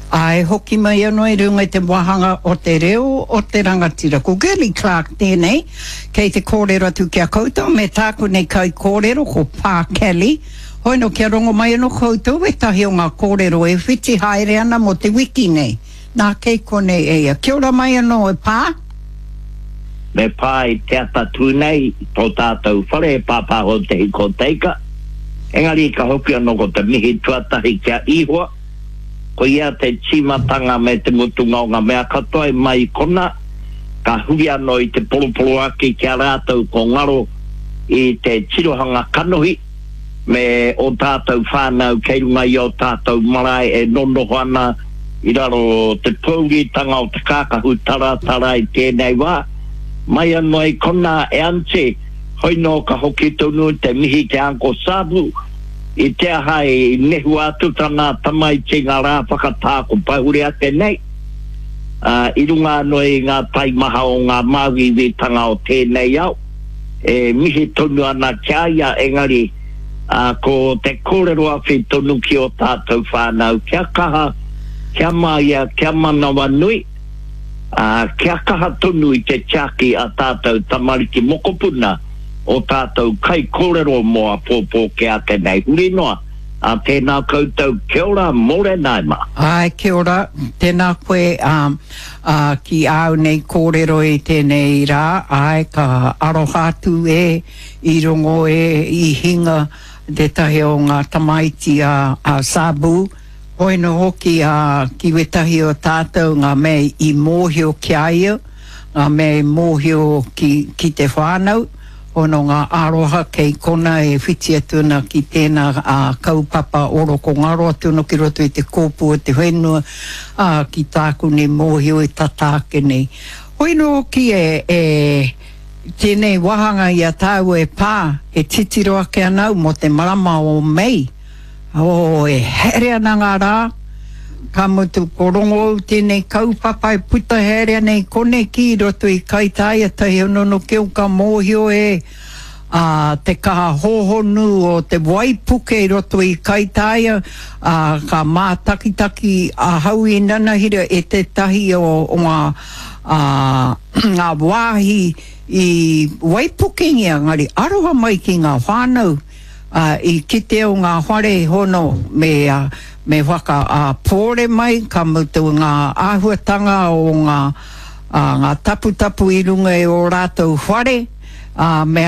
Ā, e hoki mai anō i runga i te wāhanga o te reo o te rangatira. Ko Girlie Clarke tēnei, kei te kōrero atu ki a koutou me tāku nei kaikōrero ko Pā Kelly. Hoi nō kia rongo mai anō koutou ētahi o ngā kōrero e whiti haere ana mō te wiki nei. Nā, kei konei e ia. Kia ora mai anō e Pā. Me pā i te ata tū nei tō tātou whare e pāpāho te hiko teika. Engari ka hoki anō ko te mihi tuatahi ki a Ihoa. Ko ia te tīmatanga me te mutunga o ngā mea katoa i mai i konā, ka huri anō i te poroporoaki ki a rātou ko ngaro i te tirohanga kanohi me ō tātou whānau kei runga i ō tātou marae e nonoho ana i raro te pōuritanga o te kākahu taratara i tēnei wā. Mai anō i konā e Aunty, hoi nō ka hoki tonu te mihi ki a Uncle Sabu, I te aha i nehua atu tana tamaiti ngā rā whakatā ko pahure ake nei, ā, i runga anō i ngā taimaha o ngā māuiuitanga o tēnei ao, e mihi tonu ana ki a ia, engari, ā, ko te kōrero awhi tonu ki ō tātou whānau, kia kaha, kia māia, kia manawanui, ā, kia kaha tonu i te tiaki a tātou tamariki mokopuna, o tātou kaikōrero mō apōpō kē ake nei, huri noa, ā, tēnā koutou, kia ora, mōrena e mā. Āe, kia ora, tēnā koe, ā, ā, ki āu nei kōrero i tēnei rā, āe, ka aroha atu e, i rongo e, i hinga tētahi o ngā tamaiti a, a Sabu, hoi nō hoki, ā, ki wētahi o tātou ngā mea i mōhio ki a ia, ngā mea i mōhio ki, ki te whānau, hono ngā aroha kei kona e whiti atu ana ki tēnā ā, kaupapa oroko ngaro atu ana ki roto i te kōpū o te whenua, ā, ki tāku nei mōhio e tata ake nei. Hoi nō hoki e, e, tēnei wāhanga i a tāua e pā, e titiro ake ana au mō te marama o Mei, Oh, e haere ana ngā rā, ka mutu ko Rongoou tēnei kaupapa e puta haere ana i koneki i roto i Kaitāia tahi honono keo ka mōhio e ā, te kaha hōhonu o te waipuke i roto i Kaitāia, ā, ka mātakitaki ahau i nanahira e tētahi o, o ngā, ā, ngā wāhi i waipukengia, engari aroha mai ki ngā whānau. Ā, i kite o ngā whare hono me, me whaka, ā, pōre mai, ka mutu ngā āhuatanga o ngā, ā, ngā taputapu i runga i ō rātou whare, ā, me.